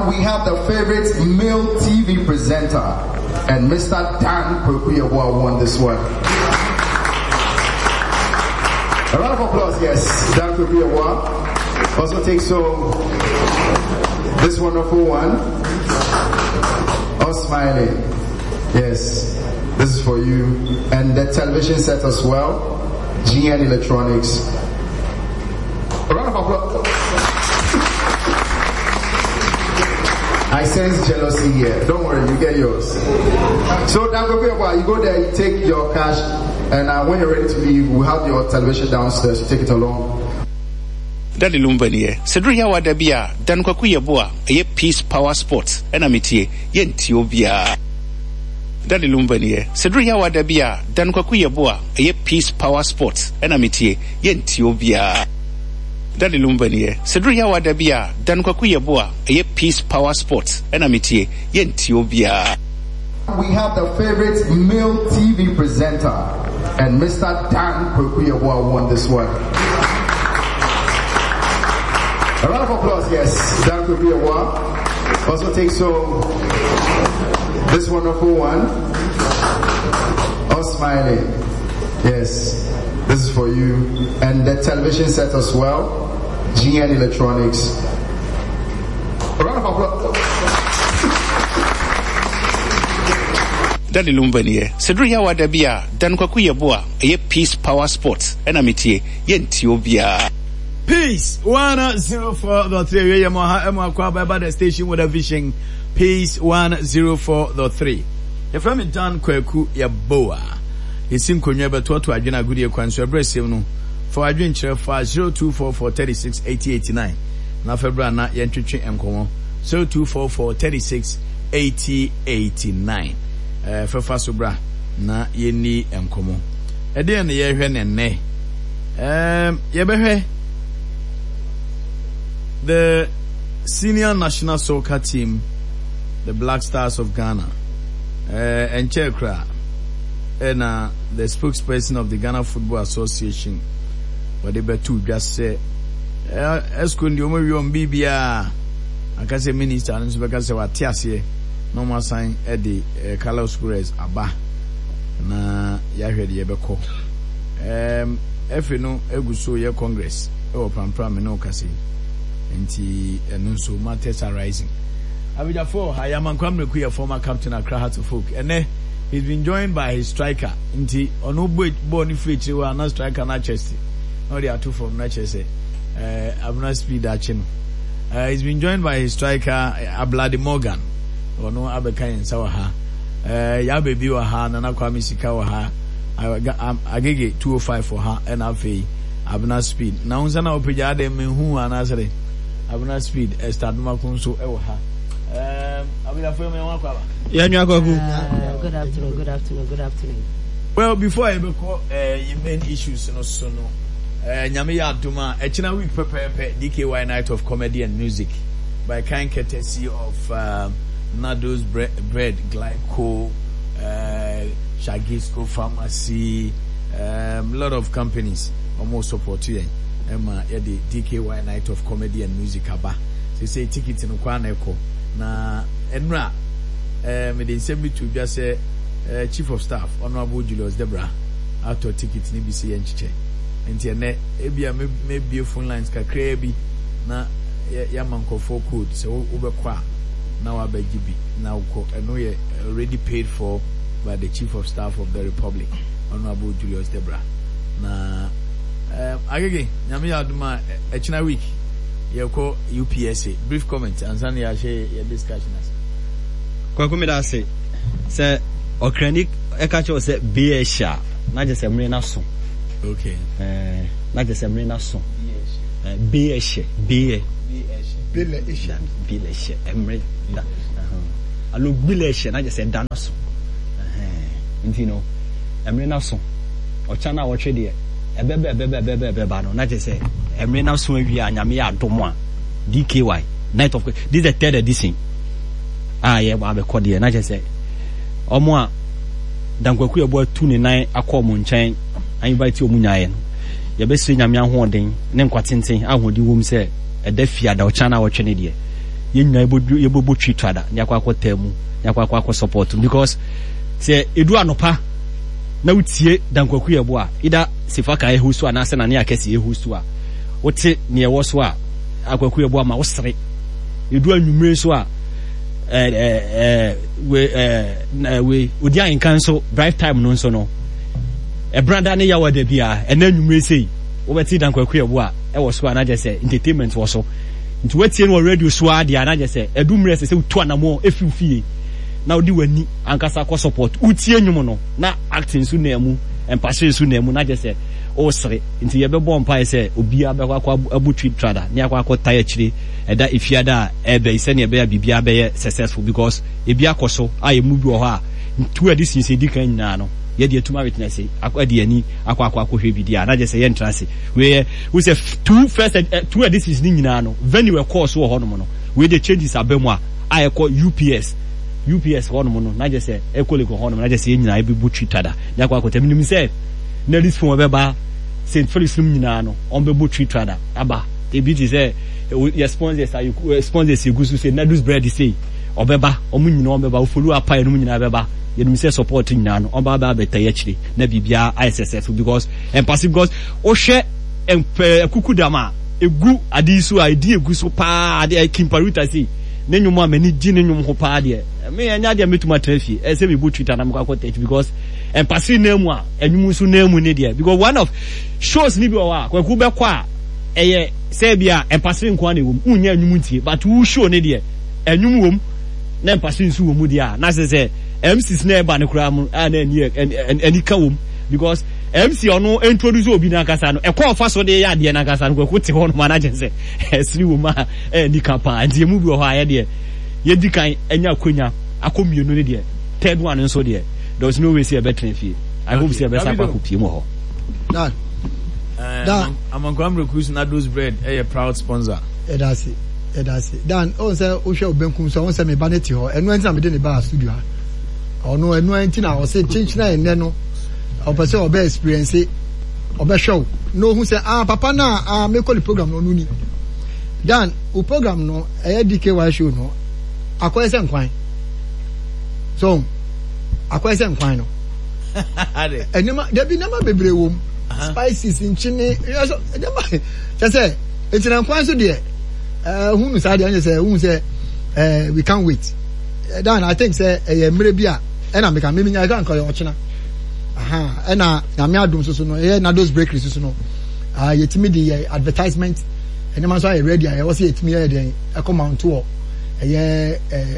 We have the favorite male TV presenter, and Mr. Dan Kweku Yeboah won this one. A round of applause, yes. Dan Kweku Yeboah also takes home this wonderful one. All smiling. Yes, this is for you. And the television set as well. GN Electronics. A round of applause. I sense jealousy here. Don't worry, you get yours. So, Dan Kweku you go there, you take your cash, and uh, when you're ready to leave, we'll have your television downstairs. You take it along. Daddy Lumba nie. Sɛ duru Yawa da bi a, Dan Kwaku Yeboah, ɛyɛ Peace Power Sports ɛna metie, yɛntie obiara. Daddy Lumba nie. Sɛ duru Yawa da bi a, Dan Kwaku Yeboah, ɛyɛ Peace Power Sports ɛna metie, yɛntie obiara. Daddy Lumba nie. Sɛ duru Yawa da bi a, Dan Kwaku Yeboah, ɛyɛ Peace Power Sports ɛna metie, yɛntie obiara. We have the favorite male TV presenter, and Mr. Dan Kweku Yeboah won this one. A round of applause, yes. Dan Kweku Yeboah also takes home this wonderful one. All smiling. Yes, this is for you. And the television set as well. GN Electronics. A round of applause. Daddy Lumba nie. Sɛ duru Yawa da bi a, Dan Kwaku Yeboah, ɛyɛ Peace Power Sports ɛna metie, yɛntie obiara. Peace 104.3 awie yɛ mo ha ɛmo akɔ aba ɛba the station with a vision Peace 104.3 yɛfrɛ me Dan Kwaku Yeboah yɛsi nkonnwa bɛtoatoa adwene agodie kwan so ɛberɛ sɛm no fa w'adwene kyerɛ fa 0244 36 80 89 na fa bra na yɛntwetwe nkɔmmɔ 0244 36 80 89 ɛɛ fɛfa so bra na yɛnni nkɔmmɔ ɛdeɛn na yɛrehwɛ ne nnɛ ɛɛm yɛbɛhwɛ the senior national soccer team the Black Stars of Ghana ɛɛ ɛnkyɛɛ koraa ɛna the spokesperson of the Ghana Football Association wɔde bɛto dwa sɛ ɛɛ ɛsco deɛ wɔn awie wɔn biribiara aka sɛ minister no nso bɛka sɛ wate aseɛ na wɔn asan de ɛɛ Carlos Queiroz aba na yɛahwɛ deɛ ɛbɛkɔ ɛɛm ɛfe no egu so yɛ congress ɛwɔ prampram ne ɔkasa yi nti ɛno nso matters arising abegyafo ha Yamankwa Mmereku yɛ former captain Accra Hearts of Oak ɛnɛ he's been joined by his striker nti ɔno bɔ bɔɔl no firi akyire hɔ a na striker no akyɛste na ɔde ato fam na kyerɛ sɛ ɛɛ abena speed akye no uh, he's been joined by his striker Ablade Morgan ɔno abɛka yɛn nsa wɔ ha ɛɛ Yabe bi wɔ ha Nana Kwame Sika wɔ ha Agege 205 wɔ ha ɛna afei Abena Speed na wo nsa na wopagya adɛn mehu anaasɛ dɛ Abena Speed Esther Adomako nso ɛwɔ ha ɛɛm abegyafo yɛ mo yɛn ho akɔ aba. Yɛn nua Kwaku. Good afternoon, good afternoon, good afternoon. Well, before I bɛkɔ uh, main issues no so no, uh, Nyame yɛ adom a ɛkyena week pɛpɛɛpɛ DKY Night of Comedy and Music by kind courtesy of um, Nado's Bre Bread, Glyco, uh, Shagisco Pharmacy, um, lot of companies almost support yɛn ɛma yɛde DKY Night of Comedy and Music aba. Sɛ ticket no kɔ na ɛkɔ na ɛnura eh, mede nsɛm bi to dwa sɛ eh, Chief of Staff Honourable Julius Debra atɔ ticket no bi sɛ yɛnkyekyɛ nti ɛnɛ ebia mebie phone lines kakraa bi na yɛama nkurɔfoɔ code sɛ wobɛkɔ a na wabɛgye bi na wokɔ ɛno yɛ already paid for by the Chief of Staff of the Republic Honourable Julius Debra na eh, agege nyame yɛ adom a ɛkyena week yɛkɔ UPSA brief comment ansa na yɛahyɛ yɛ discussion ase. Kwaku meda ase sɛ ɔkrani ɛka kyerɛ sɛ bee ɛhyɛ a na kyerɛ sɛ mmere no aso. Okay. Ɛɛ na kyerɛ sɛ mmere no aso. Bee ɛhyɛ bee. Bele ɛhyɛ. Bele ɛhyɛ mmere da. Alo bele ɛhyɛ na kyerɛ sɛ da no aso. Nti no mmere no aso. Ɔkya no a wɔtwe deɛ ɛbɛba ɛbɛba ɛbɛba ɛbɛba no na kyerɛ sɛ mmere no aso awie a nyame yɛ adom a DKY night of this is the third edition a yɛbɔ abɛkɔ deɛ na kyerɛ sɛ ɔmo a Dankwaku yɛbɔ atu ne nan akɔ ɔmo nkyɛn invite ɔmo nyaeɛ no yɛbɛsrɛ nyame ahoɔden ne nkwa tenten ahoɔden wom sɛ ɛda fie ada ɔkyan na wɔtwe ne deɛ Yɛn nyinaa yɛbɛbɔ twi trada ne akɔ akɔ taa mu ne akɔ akɔ akɔ support because sɛ edu anɔpa na wotie Dan Kwaku Yeboah either Sefaka ɛho so anaasɛ Nane Akɛse ɛho so a wote nea ɛwɔ so a Akwaku Yeboah ma wosere. Edu anwummere nso a ɛɛ ɛɛ we odi ahenka nso drive time no nso no ɛbrada ne yawa da biara ɛna anwummere sei wobɛte Dan Kwaku Yeboah ɛwɔ so a na kyerɛ sɛ entertainment wɔ so. Nti woatie no wɔ radio so ara deɛ a na kyerɛ sɛ ɛdu mmerɛ ɛsɛ sɛ wotu anamɔn ɛfiri wo fie na wode w'ani ankasa kɔ support. Wotie nnwom no na acting nso nam mu, mpahyɛ nso nam mu na kyerɛ sɛ woresere. Nti yɛbɛbɔ mpaeɛ sɛ obiara bɛkɔ akɔ abu twi trada ne akɔ akɔ tae akyire ɛda efiada a ɛreba yi sɛdeɛ ɛbɛyɛ a biribiara bɛyɛ successful because ebi akɔ so a yɛn mu bi wɔ hɔ a two editions a ɛdi kan nyinaa no yɛde atum awitness akɔ de yɛn ani akɔ akɔ akɔhwɛ bi deɛ a na kyerɛ sɛ yɛntra ase. Wei yɛ wohu sɛ two first eh, two editions ne nyinaa no venue ɛkɔɔ so wɔ hɔnom no wei deɛ changes aba mu a a ɛkɔ UPS UPS hɔnom no na kyerɛ sɛ ɛkɔ Legon hɔnom na kyerɛ sɛ yɛn nyinaa yɛbɛbu twi tada ne akɔ akɔtɛ menim sɛ Nelly's phone ɛbɛba St. Felix nom nyinaa no wɔn bɛbɔ twi trada aba ebi te sɛ yɛ sponsors a sponsors yɛgu so sɛ Nadus bread sei ɔbɛba wɔn nyinaa wɔn bɛba ofolu apa yɛn nyinaa bɛba yɛnim sɛ support nyinaa no wɔn ba bɛ abɛta yɛ akyire na biribiara ayɛ successful because ɛmpase because wohwɛ akuku dam a egu ade yi so a edi egu so paa ade kimparuta sei ne nnwom a m'ani gye ne nnwom ho paa deɛ me ɛnyɛ adeɛ a mɛtumi atena fie ɛsɛ mebɔ twitter na mekɔ akɔ tɛkyi because ɛmpase nan mu a ɛnwom nso nan mu ne deɛ because one of shows ne bi wɔ hɔ a kwaku bɛkɔ a ɛyɛ sɛ bi a ɛmpase nko ara na ɛwɔ mu wonyɛ ɛnwom ntie but wo show ne deɛ ɛnwom wɔ mu na ɛmpase nso wɔ mu deɛ a na sɛ sɛ MCs na ɛba no koraa mu a na ɛni ɛni ka wɔ mu because MC ɔno introduce obi n'ankasa no ɛkɔ ɔfa so de yɛ adeɛ n'ankasa no kwaku te hɔ nom anagyɛ sɛ ɛsere wɔ mu a ɛni ka paa nti emu bi wɔ hɔ a yɛ deɛ yɛdi kan anya akonya akɔ mmienu ne deɛ third one nso deɛ there was no way sɛ yɛbɛtena fie I hope sɛ yɛbɛsa akɔ akɔpie mu wɔ hɔ. Dan. Dan. Amankwa Mrekus Nados Bread ɛyɛ proud sponsor. Ɛda ase. Ɛda ase. Dan, ɔn sɛ wohwɛ wo benkum so a, ɔn sɛ me ba no te hɔ. Ɛno nti na mede ne baa studio ha. Ɔno ɛno nti na ɔse kyenkyena ɛnnɛ no ɔpɛ sɛ ɔbɛ experience ɔbɛhwɛ wo na ohu sɛ ah papa no a ah mekɔ ne program no ɔno ni. Dan, wo program no ɛyɛ DKY show no akɔyɛ sɛ nkwan. So akɔyɛ sɛ nkwan no. Nneɛma dabi nneɛma bebree wɔ mu. Spices nkyene nneɛma kyɛ sɛ eti na nkwan so deɛ ɛɛ hu no saa deɛ ɛnyɛ sɛ hu sɛ ɛɛ we can't wait. Dan I think sɛ ɛyɛ mmerɛ bi a ɛna meka mímí nya ɛka nka ɔyɛ ɔkyena. Ɛna nyame adum soso no ɛyɛ Nados Bakery soso no yɛtumi de yɛ advertisement nneɛma nso ayɛ ready a ɛwɔ sɛ yɛtumi yɛ deɛ ɛkɔ mount wɔ ɛyɛ ɛɛ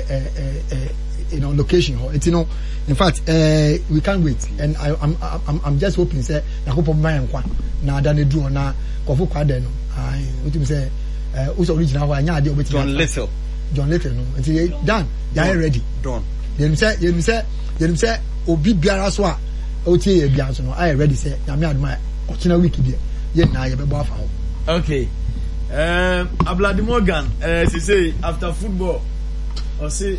ɛɛ you know location hɔ eti no in fact uh, we can't wait and I, I'm, I'm, I'm just hoping sɛ yakopɔ bɛma yɛn nkwa na ada no duru hɔ na kɔfo kwa dɛ no ayi wotumi sɛ ɛɛ wosɔ ɔno gyina hɔ a ɛnyɛ adeɛ ɔbɛtumi John Little John Little no nti Dan yɛayɛ ready Don yɛnim sɛ yɛnim sɛ yɛnim sɛ obi biara so a ɔtie yɛ biara nso no ayɛ ready sɛ nyame adom a ɔkyena week deɛ yɛn nyinaa yɛbɛbɔ afa hɔ. Okay. Um, Ablade Morgan, uh, say after football, ɔse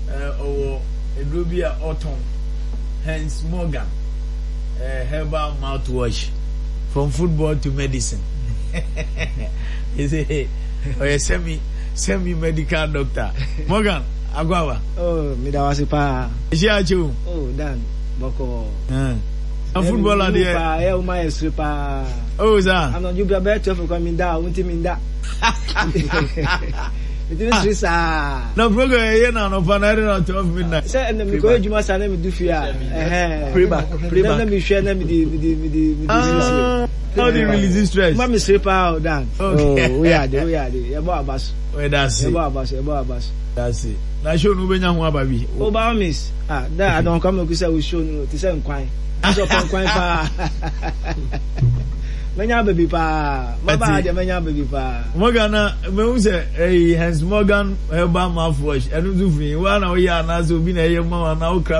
ɔwɔ aduro bi a ɔtɔn, hence Morgan herbal mouthwash, from football to medicine. He say ɔyɛ semi semi medical doctor. Morgan, akwaaba. Oh, me da wase paa. Ɛhyɛ akyɛ o. Oh, Dan, bɔkɔɔ. Na footballer deɛ. Paa, ɛyɛ wo ma yɛ sere paa. Oh, saa. Anadwo bia bɛyɛ 12 kora mi da, wo nti mi nda. Metumi sere saa. Na program ɛyɛ na anɔpa na ɛde na 12 midnight. Sɛ ɛnna mekɔ adwuma saa na medu fie a. Ɛhɛn. Playback, playback. Na mehwɛ na mede mede mede mede siesie. How do you release stress? Ma me sere paa o Dan. Okay. Oh, woyɛ ade, woyɛ ade. Yɛbɔ aba so. Ɔyɛ ase. Yɛbɔ aba so, yɛbɔ aba so. Ase. Na show no wobɛnya ho aba bi. O by all means. Ah, da adɔn kwa mɛku sɛ wo show no te sɛ nkwan. Sɛ ɔpɛ nkwan paa. Mɛnya aba bi paa. Maba deɛ mɛnya aba bi paa. Morgan na mehu sɛ ɛyi Hans Morgan herbal mouthwash ɛno nso firi wa na woyɛ anaasɛ obi na ɛyɛ ma wo anaa wokra.